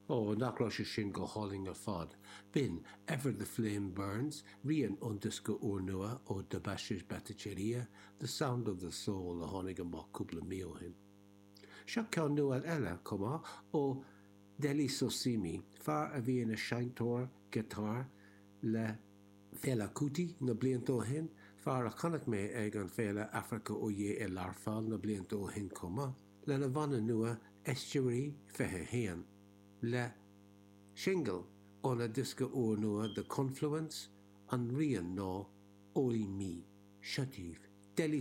Ó, nach raibh sé sin go hálainn ar fad. B'in Ever the Flame Burns, rian ón diosca úrnua ó Debashish Bhattacharya, The Sound of the Soul, a tháinig amach cúpla mí ó shin. Seo ceann nua eile, chomh maith, ó Dele Sosimi, fear a bhí ina sheinnteoir giotáir le Fela Kuti na blianta ó shin, fear a chonaic mé ag an Féile Africa Oye i Learpholl na blianta ó shin chomh maith, lena bhanna nua Estuary 21, le singil óna diosca úrnua The Confluence, an rian ná Orí Mi. Seo daoibh, Dele.